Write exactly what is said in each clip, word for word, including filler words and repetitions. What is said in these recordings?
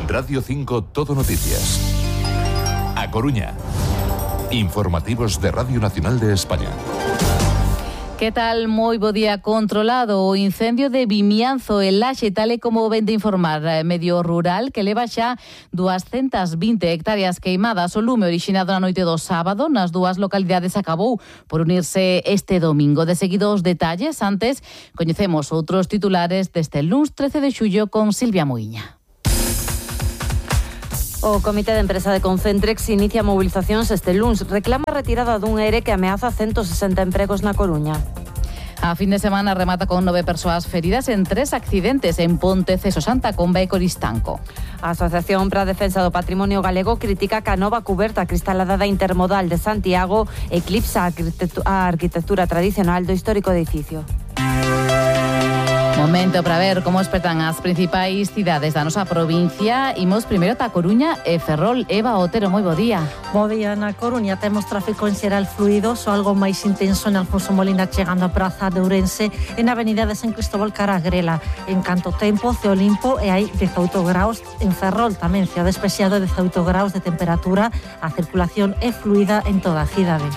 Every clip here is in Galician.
Radio cinco Todo Noticias. A Coruña. Informativos de Radio Nacional de España. Que tal? Moi bo día. Controlado o incendio de Vimianzo en Laxe, tal e como ven de informar Medio Rural, que leva xa doscientas vinte hectáreas queimadas. O lume orixinado na noite do sábado nas dúas localidades acabou por unirse este domingo. De seguido os detalles, antes coñecemos outros titulares deste luns trece de xullo con Silvia Moiña. O Comité de Empresa de Concentrex inicia movilizacións este luns. Reclama a retirada dun ERE que ameaza ciento sesenta empregos na Coruña. A fin de semana remata con nove persoas feridas en tres accidentes en Ponte, Ceso, Santa Comba e Coristanco. A Asociación para a Defensa do Patrimonio Galego critica que a nova cuberta cristalada da Intermodal de Santiago eclipsa a arquitectura tradicional do histórico edificio. Momento para ver como espertan as principais cidades da nosa provincia. Imos primeiro ta Coruña e Ferrol. Eva Otero, moi bo día. Bo día. Na Coruña temos tráfico en xeral fluido, só algo máis intenso en Alfonso Molina chegando a Praza de Ourense e na avenida de San Cristóbal cara a Grela. En canto tempo, ceo limpo e hai dezaoito graus en Ferrol. Tamén ceo despexado, dezaoito graus de temperatura. A circulación é fluida en toda a cidade.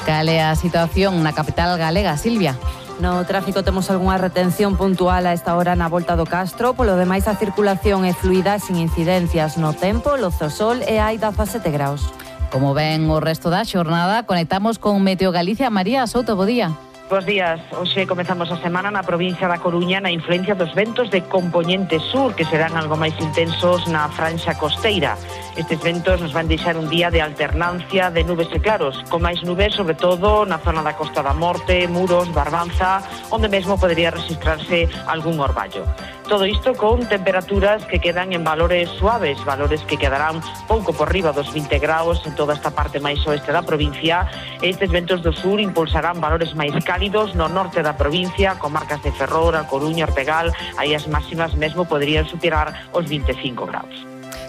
Cal é a situación na capital galega, Silvia? No tráfico temos algunha retención puntual a esta hora na volta do Castro. Polo demais, a circulación é fluida sin incidencias no tempo, loce o sol e hai dezasete graus. Como ven o resto da xornada, conectamos con Meteo Galicia. María Souto, bo día. Bos días. Hoxe comezamos a semana na provincia da Coruña na influencia dos ventos de compoñente sur, que serán algo máis intensos na franxa costeira. Estes ventos nos van deixar un día de alternancia de nubes e claros, con máis nubes sobre todo na zona da Costa da Morte, Muros, Barbanza, onde mesmo podería registrarse algún orballo. Todo isto con temperaturas que quedan en valores suaves, valores que quedarán pouco por riba dos vinte graus en toda esta parte máis oeste da provincia. Estes ventos do sur impulsarán valores máis cálidos no norte da provincia, comarcas de Ferrol, A Coruña, Ortegal. Aí as máximas mesmo poderían superar os vinte e cinco graus.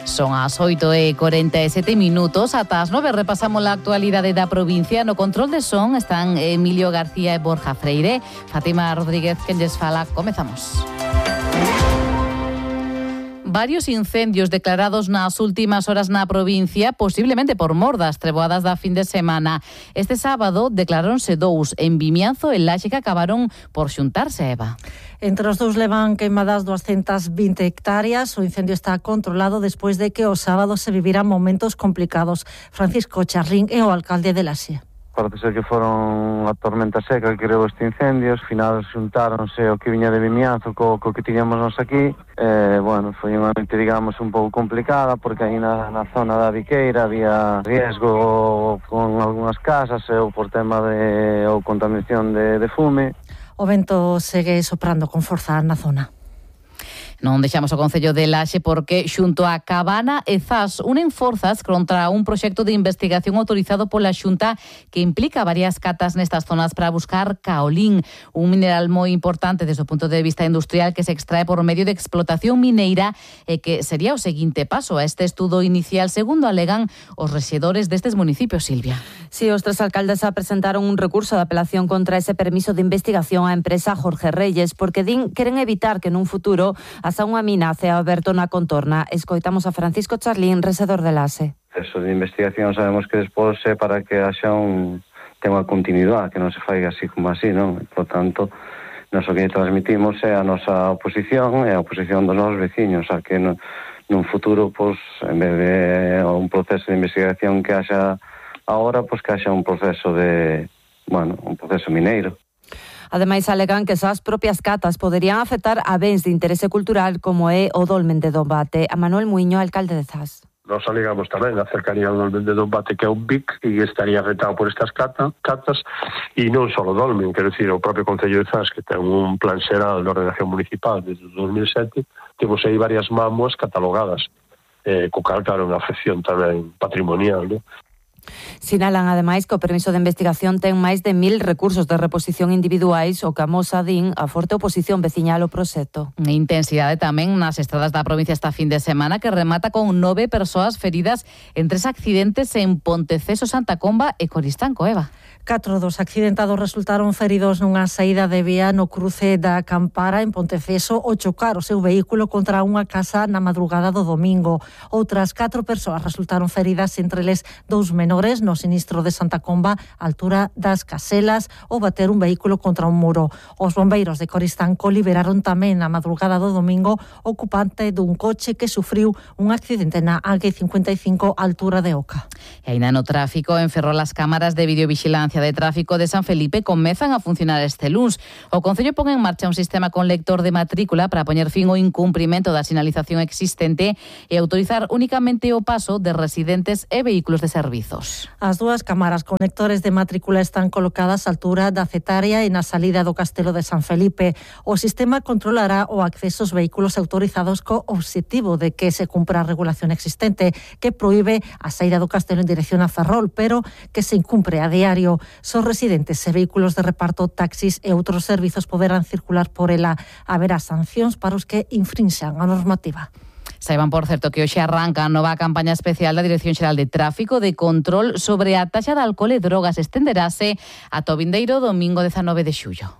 Son as oito e corenta e sete minutos. Ata as nove repasamos a actualidade da provincia. No control de son están Emilio García e Borja Freire. Fátima Rodríguez, quen lles fala. Comezamos. Varios incendios declarados nas últimas horas na provincia, posiblemente por mor das treboadas da fin de semana. Este sábado declaráronse dous en Vimianzo e Laxe que acabaron por xuntarse, Eva. Entre os dous levan queimadas doscientas vinte hectáreas. O incendio está controlado despois de que o sábado se viviran momentos complicados. Francisco Charrín é o alcalde de Laxe. Parece ser que foron a tormenta seca que creou este incendio. Ao final xuntáronse o que viña de Vimianzo co, co que tiñamos nos aquí. Eh, bueno, foi unha noite, digamos, un pouco complicada porque aí na, na zona da Viqueira había riesgo con algunhas casas ou por tema de ou contaminación de, de fume. O vento segue soprando con forza na zona. Non deixamos o Concello de Laxe porque xunto a Cabana e Zas unen forzas contra un proxecto de investigación autorizado pola Xunta que implica varias catas nestas zonas para buscar caolín, un mineral moi importante desde o punto de vista industrial que se extrae por medio de explotación mineira e que sería o seguinte paso a este estudo inicial, segundo alegan os rexedores destes municipios, Silvia. Si, os tres alcaldes presentaron un recurso de apelación contra ese permiso de investigación á empresa Jorge Reyes porque din queren evitar que nun futuro a unha mina cea aberto na contorna. Escoitamos a Francisco Charlín, rexedor de Laxe. Eso de investigación sabemos que despois é para que haxa un ten unha continuidade, que non se faiga así como así, non? Por tanto, nós o que transmitimos é a nosa oposición e a oposición dos nosos veciños, a que no, nun futuro, pois, en vez de un proceso de investigación que haxa agora, pois que haxa un proceso de, bueno, un proceso mineiro. Ademais, alegan que esas propias catas poderían afectar a bens de interese cultural como é o Dolmen de Dombate. A Manuel Muiño, alcalde de Zas. Nos alegamos tamén a cercanía do Dolmen de Dombate, que é un B I C e estaría afectado por estas cata, catas, e non só o Dolmen, quero dicir, o propio Concello de Zas, que ten un plan xeral de ordenación municipal desde o dos mil sete, temos aí varias mámoas catalogadas, eh, co cal, claro, unha afección tamén patrimonial, non? Sinalan, ademais, que o permiso de investigación ten máis de mil recursos de reposición individuais, o que amosa, din, a forte oposición veciñal ao proxecto. Intensidade tamén nas estradas da provincia esta fin de semana, que remata con nove persoas feridas en tres accidentes en Ponteceso, Santa Comba e Coristanco, Eva. Catro dos accidentados resultaron feridos nunha saída de vía no cruce da Campara en Ponteceso ao chocar o seu vehículo contra unha casa na madrugada do domingo. Outras catro persoas resultaron feridas, entre eles dous menores, no sinistro de Santa Comba, á altura das Caselas, ao bater un vehículo contra un muro. Os bombeiros de Coristanco liberaron tamén na madrugada do domingo o ocupante dun coche que sufriu un accidente na A G cincuenta e cinco á altura de Oca. E aínda no tráfico, en Ferrol, as cámaras de videovigilancia de tráfico de San Felipe comezan a funcionar este luns. O Concello pon en marcha un sistema con lector de matrícula para poñer fin ao incumprimento da sinalización existente e autorizar únicamente o paso de residentes e vehículos de servizos. As dúas cámaras con lectores de matrícula están colocadas á altura da Cetaria e na salida do Castelo de San Felipe. O sistema controlará o acceso aos vehículos autorizados co obxectivo de que se cumpra a regulación existente, que proíbe a saída do Castelo en dirección a Ferrol, pero que se incumpre a diario. Son residentes e vehículos de reparto, taxis e outros servizos poderán circular por ela. Haberá sancións para os que infrinxan a normativa. Saiban, por certo, que hoxe arranca a nova campaña especial da Dirección Xeral de Tráfico de control sobre a taxa de alcohol e drogas. Estenderase ata o vindeiro domingo dezanove de xullo.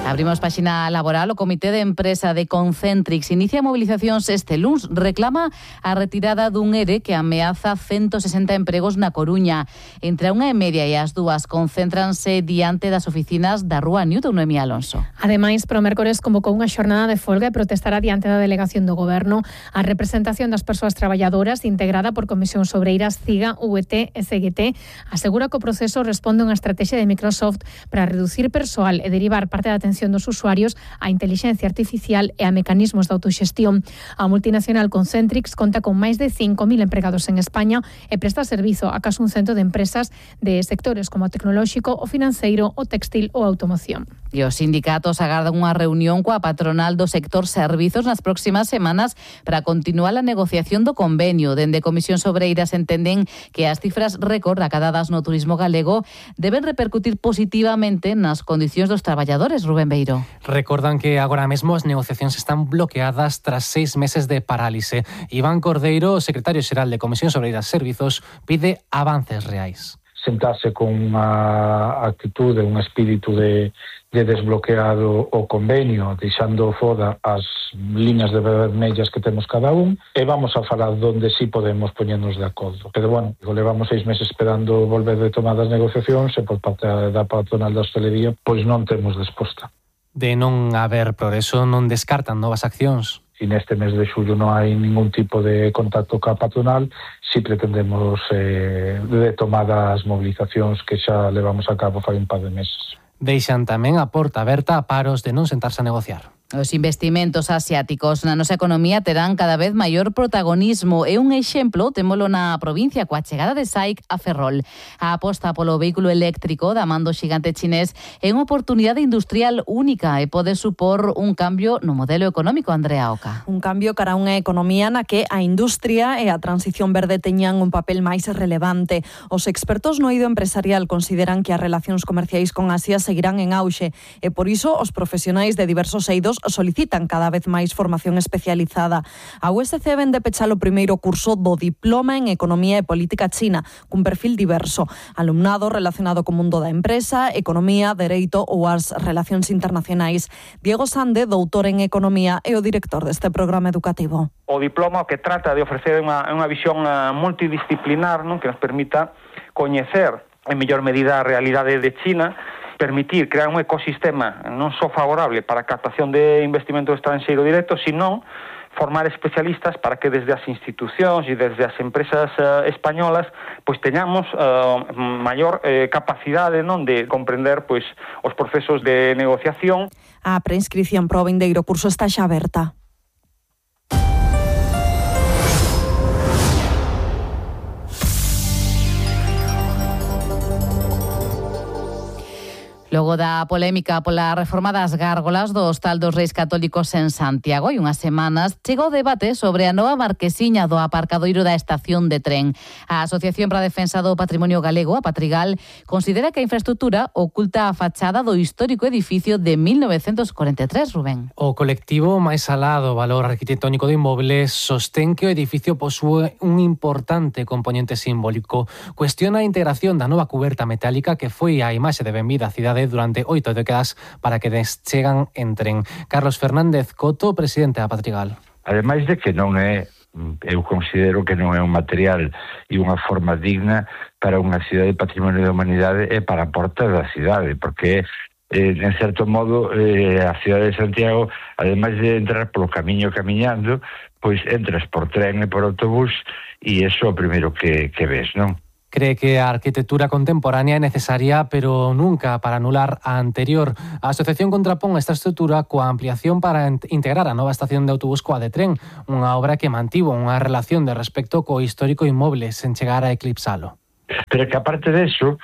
Abrimos páxina laboral. O Comité de Empresa de Concentrix inicia movilizacións este luns. Reclama a retirada dun E R E que ameaza ciento sesenta empregos na Coruña. Entre a unha e media e as dúas concéntranse diante das oficinas da Rúa Newton, Noemí Alonso. Ademais, Promércores convocou unha xornada de folga e protestará diante da delegación do Goberno a representación das persoas traballadoras integrada por Comisións Obreiras, CIGA, U E T e C G T. Asegura que o proceso responde a unha estrategia de Microsoft para reducir persoal e derivar parte da atención dos usuarios a inteligencia artificial e a mecanismos de autoxestión. A multinacional Concentrix conta con máis de cinco mil empregados en España e presta servizo a case un cento de empresas de sectores como o tecnolóxico, o financeiro, o textil ou a automoción. E os sindicatos agardan unha reunión coa patronal do sector servizos nas próximas semanas para continuar a negociación do convenio. Dende Comisións Obreiras entenden que as cifras récord acadadas no turismo galego deben repercutir positivamente nas condicións dos traballadores. Rubén Beiro. Recordan que agora mesmo as negociacións están bloqueadas tras seis meses de parálise. Iván Cordeiro, secretario xeral de Comisións Obreiras Servizos, pide avances reais. Sentarse con unha actitude, un espírito de, de desbloqueado o convenio, deixando foda as líneas de vermellas que temos cada un, e vamos a falar donde sí podemos poñernos de acordo. Pero, bueno, levamos seis meses esperando volver de tomar as negociacións e por parte da patronal da hostelería, pois non temos resposta. De non haber progreso, non descartan novas accións. E neste mes de xullo non hai ningún tipo de contacto ca patronal, si pretendemos eh, retomar as movilizacións que xa levamos a cabo fai un par de meses. Deixan tamén a porta aberta a paros de non sentarse a negociar. Os investimentos asiáticos na nosa economía terán cada vez maior protagonismo e un exemplo témolo na provincia coa chegada de S A I C a Ferrol. A aposta polo vehículo eléctrico da man do xigante chinés é unha oportunidade industrial única e pode supor un cambio no modelo económico, Andrea Oca. Un cambio cara a unha economía na que a industria e a transición verde teñan un papel máis relevante. Os expertos no eido empresarial consideran que as relacións comerciais con Asia seguirán en auxe e por iso os profesionais de diversos eidos solicitan cada vez máis formación especializada. A U S C vende pechar o primeiro curso do Diploma en Economía e Política China, cun perfil diverso. Alumnado relacionado co mundo da empresa, economía, dereito ou as relacións internacionais. Diego Sande, doutor en Economía, é o director deste programa educativo. O diploma que trata de ofrecer unha, unha visión multidisciplinar, non, que nos permita coñecer en mellor medida a realidade de China, permitir crear un ecosistema non só favorable para a captación de investimento estranxeiro directo, sino formar especialistas para que desde as institucións e desde as empresas uh, españolas pois teñamos uh, maior uh, capacidade non de comprender pois os procesos de negociación. A preinscripción para o vindeiro curso está xa aberta. Logo da polémica pola reforma das gárgolas do Hostal dos Reis Católicos en Santiago, e unhas semanas chegou o debate sobre a nova marquesiña do aparcadoiro da estación de tren. A Asociación para a Defensa do Patrimonio Galego, a Patrigal, considera que a infraestructura oculta a fachada do histórico edificio de mil novecentos corenta e tres, Rubén. O colectivo máis alá do valor arquitectónico do inmoble sostén que o edificio posúe un importante componente simbólico. Cuestiona a integración da nova cuberta metálica que foi a imaxe de benvida á cidade durante oito décadas para que chegan en tren. Carlos Fernández Coto, presidente da Patrigal. Ademais de que non é, eu considero que non é un material e unha forma digna para unha cidade de patrimonio da humanidade e para a porta da cidade, porque eh, en certo modo eh, a cidade de Santiago, ademais de entrar polo camiño camiñando, pois entras por tren e por autobús e iso é o primeiro que, que ves, non? Cree que a arquitectura contemporánea é necesaria, pero nunca para anular a anterior. A asociación contrapón esta estrutura coa ampliación para integrar a nova estación de autobús coa de tren, unha obra que mantivo unha relación de respecto co histórico inmoble sen chegar a eclipsalo. Pero que aparte de eso,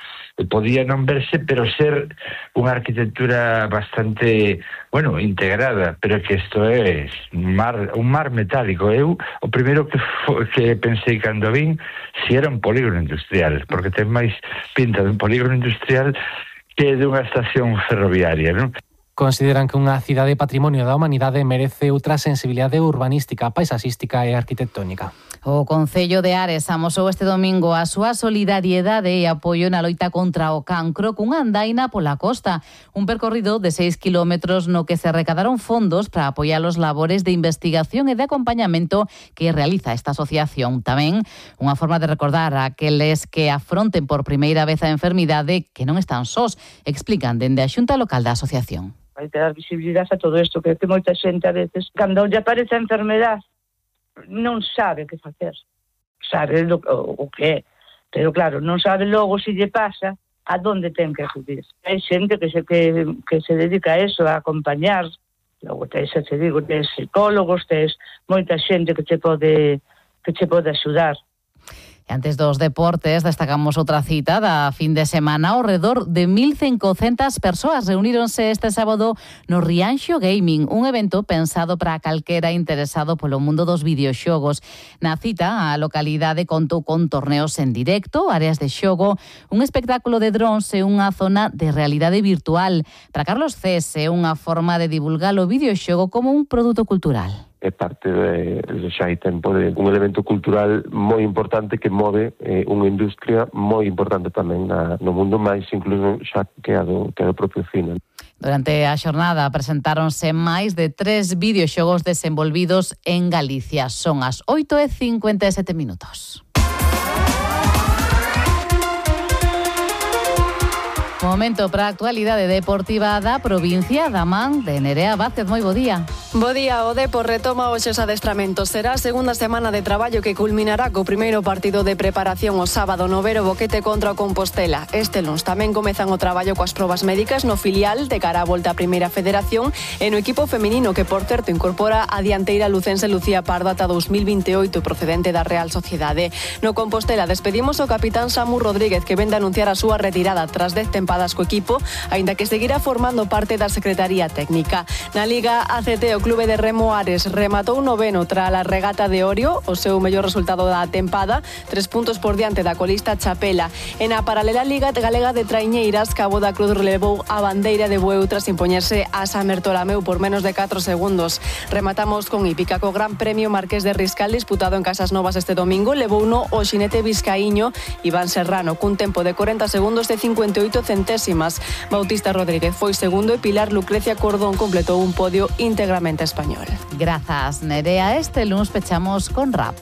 podía non verse, pero ser unha arquitectura bastante, bueno, integrada, pero que isto é mar, un mar metálico. Eu, o primeiro que, fo, que pensei cando vin, si era un polígono industrial, porque ten máis pinta de un polígono industrial que de unha estación ferroviaria, non? Consideran que unha cidade patrimonio da humanidade merece outra sensibilidade urbanística, paisaxística e arquitectónica. O Concello de Ares amosou este domingo a súa solidariedade e apoio na loita contra o cancro cunha andaina pola costa, un percorrido de seis kilómetros no que se recadaron fondos para apoiar os labores de investigación e de acompañamento que realiza esta asociación. Tamén unha forma de recordar a aqueles que afronten por primeira vez a enfermidade que non están sós, explican dende a Xunta Local da asociación. Hai que dar visibilidade a todo isto, que, que moita xente a veces, cando lle aparece a enfermedade, non sabe que facer, sabe lo, o, o que é, pero claro, non sabe logo se lle pasa a donde ten que acudir. Hai xente que se, que, que se dedica a eso, a acompañar, logo tes, te digo, tes psicólogos, tes moita xente que te pode, que te pode axudar. E antes dos deportes, destacamos outra cita da fin de semana. Ao redor de mil cincocentas persoas reuníronse este sábado no Rianxo Gaming, un evento pensado para calquera interesado polo mundo dos videoxogos. Na cita, a localidade contou con torneos en directo, áreas de xogo, un espectáculo de drons e unha zona de realidade virtual. Para Carlos Cés é unha forma de divulgar o videoxogo como un produto cultural. É parte de, de xa hai tempo de un elemento cultural moi importante que move eh, unha industria moi importante tamén na, no mundo, máis incluso xa que a do, que a do propio cine. Durante a xornada presentáronse máis de tres videoxogos desenvolvidos en Galicia. Son as oito e cincuenta e sete minutos. Momento para a actualidade deportiva da provincia da man de Nerea Vázquez. Moi bo día. Bo día, o Depor retoma hoxe os adestramentos. Será a segunda semana de traballo que culminará co primeiro partido de preparación o sábado no Vero Boquete contra o Compostela. Este luns tamén comezan o traballo coas probas médicas no filial de cara á volta á Primeira Federación e no equipo feminino que, por certo, incorpora a dianteira lucense Lucía Pardo ata dos mil vinte e oito procedente da Real Sociedade. No Compostela despedimos o capitán Samu Rodríguez, que vende a anunciar a súa retirada tras dez tempadas co equipo, aínda que seguirá formando parte da Secretaría Técnica. Na Liga A C T, o clube de Remo Ares rematou noveno tras a regata de Orio, o seu mellor resultado da tempada, tres puntos por diante da colista Chapela. En a paralela Liga Galega de Traiñeiras, Cabo da Cruz relevou a bandeira de Bueu tras impoñerse a San Bertolameu por menos de catro segundos. Rematamos con hípica co Gran Premio Marqués de Riscal disputado en Casas Novas este domingo, levouno o xinete vizcaíño Iván Serrano cun tempo de cuarenta segundos de cincuenta e oito centésimas. Bautista Rodríguez foi segundo e Pilar Lucrecia Cordón completou un podio íntegramente español. Grazas, Nerea. Este lunes pechamos con rap.